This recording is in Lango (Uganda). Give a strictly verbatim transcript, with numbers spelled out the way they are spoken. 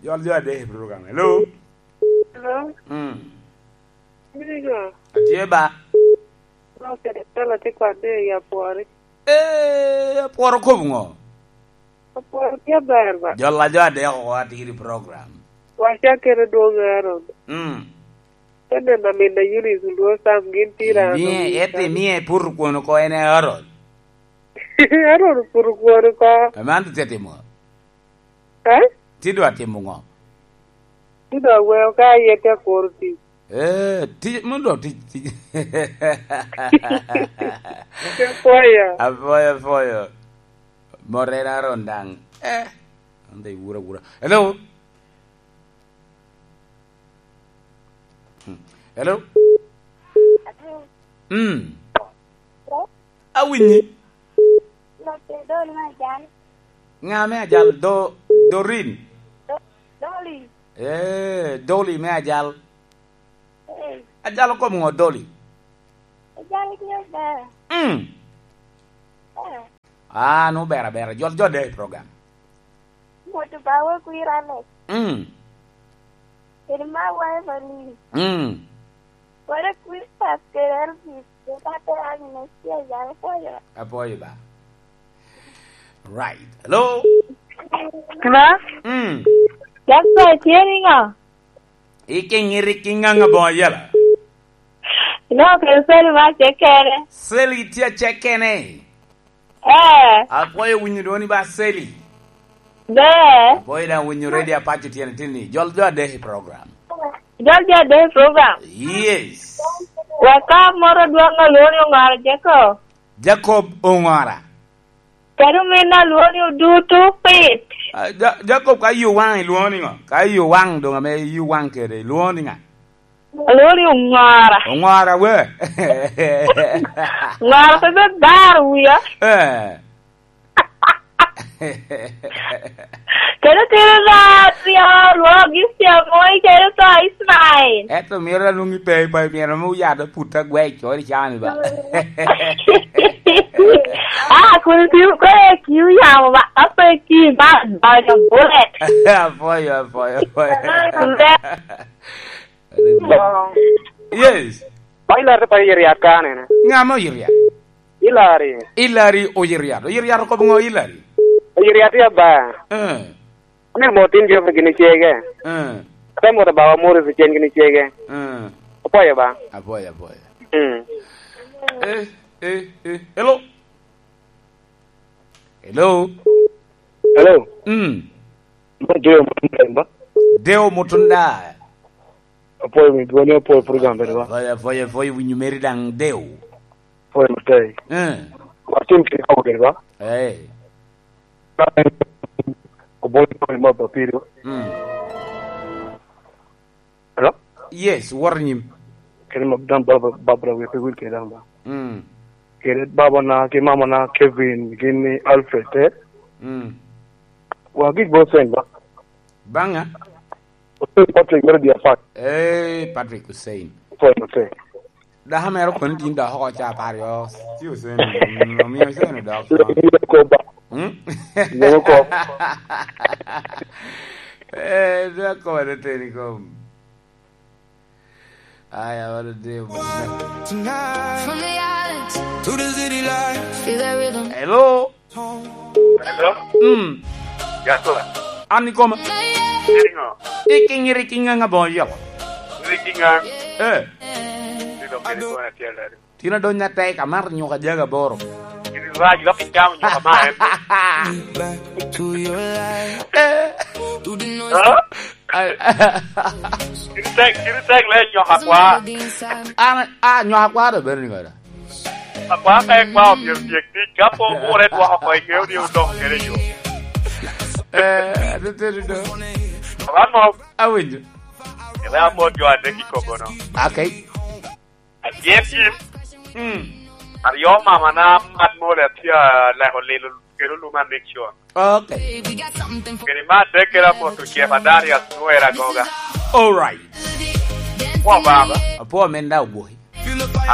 Jol jo adek i program. Hello? Hello? Mm. Migo? Atye ba? Dok kede pala tye kwan ni ya pwori. Eh, apworo kop ŋo? Apworo tye ber ba? Jol a jo adek oko atye i program. Waca kede dwong Aaron. Mm. Te neno amin a Eunice Olwo Sam gin tye i rano. Imie, ete imie pur kwon oko en e Aaron. Aaron pur kwon oko. Aman tye timo. Eh? Ti dwa timo ŋo? Ti dwa weo ka aye te kuro tic. Eh, ti, mo dwa tic, tic. Te pwoyo. Apwoyo, apwoyo. Morena ron daŋ. Eh, an dhi wura, wura. Hello? Hmm. Hello? Mm. Awinyi. Ŋa me ajal? Do-, Dorin? Do-, Doli. Eh, Doli me ajal. Eh. Ajal okom ŋo, Doli? Ajal ki ober. Mm. Eh. Ah, nu ber aber. Jol, jol de i program. Moto bawe kwira ne. Mm. Kede ma wae mani. Mm. Wara kwir pas kede Elvis. Kata te anyi na cia ya apoyo. Apoyo ba. Right. Hello? Hello? Mm. Jasper, tye niŋo? Ike ŋiri ki ŋaŋa boŋo yela? Ino kede Sally ma cekene. Sally tye acekene. Eh. Apwoyo winyo dwoni ba Sally. Be. Apwoyo daŋ winyo ready apaco tyene tin ni. Jol jo adek i program. Jol jo adek i program? Yes. Wek ka moro dwong alwongo ni Oŋora Jacob. Jacob Oŋora. Kadi ominna alwongo ni Odutu Pit. Ah, Ja-, Jacob ka yo waŋ ilwongo ni ŋo? Ka yo waŋ doŋ ame yo waŋ kede ilwongo ni ŋa? Alwongo ni Oŋora. Oŋora we. Oŋora pe bed bar wia. Eh. Kede tino na tio lwogi Siamoi kede to Ismail. Ento miro alwongi pe, pe, miro me oyado put agwec, ori cani ba. Ah, kun tio ko e kiu yamo ba, ape ki ba, ba jo bullet. Apoyo, apoyo, apoyo. Yes. Ba Hilary te payo Yiriat ka nene? Ŋa mo Yiriat? Hilary. Hilary Oyiriat. Oyiriat okobo ŋo Hilary? Oyiriat ya ba. Eh. Ame mo tin Geoffrey gini cege. Eh. Ame mo bawa Morris cen gini cege. Eh. Apoyo ba. Apoyo, apoyo. Mm. Eh, eh, eh. Hello. Hello. Hello. Mm. Mo Deo Mutunda ba? Deo Mutunda. Apwoyo mi dwoni, apwoyo program bene ba. Apwoyo, apwoyo, apwoyo winyo meri daŋ Deo. Apwoyo matek. Eh. Watim kede kobo kede ba. Eh. Obonyo apwoyo ma ba piri ba. Mm. Hello? Yes, wot nyim. Kede ma daŋ Barbara, Barbara wer pe wil kede daŋ ba. Mm. Kede babana ki mamana Kevin, gin ni Alfred, eh? Mm. Wa gik bo sen ba. Baŋa? Hussein Patrick mere di apat. Eh, Patrick Hussein. Hussein, Hussein. Dako mere okoni tin dok oko ca apar yo. Ci Hussein, mm, omiyo Hussein odok. Yego kop ba. Hmm? Yego kop. Eh, dok kop ade teni kom. Aya, what a day. Tonight, to the city lights. Feel the rhythm. Hello? Hello? Mm. Jasper. An ikoma. Iriŋo? Ikiŋ, irikiŋ ŋaŋ aboŋo yoko. Irikiŋ ŋaŋ? Eh. Tino kede kona tyel dadi. Tino donya tek, amato nyuka jaga boro. Iri rac lok icamo nyuka ma en. Eh. Ha? Ai. Kiri tek, kiri tek le nyoka kwa. An, a, nyoka kwa do bedo ni godo. Akwa ka en kwa omyero tyek tic, ka po ogure dwoko oko, iŋeo ni odok kede yo. Eh, ateteni do. Wan mo. Awinjo. Ebe amot jo adek i kobono. Okay. Adyek yin. Mm. Aryo mamana mat mole atye aleko lilo kede oluma Nixon. Okay. Kede me adek kede amoto Jeff Adarius Nwera Goga. All right. Kwo baba. Apwo men da ogwoki.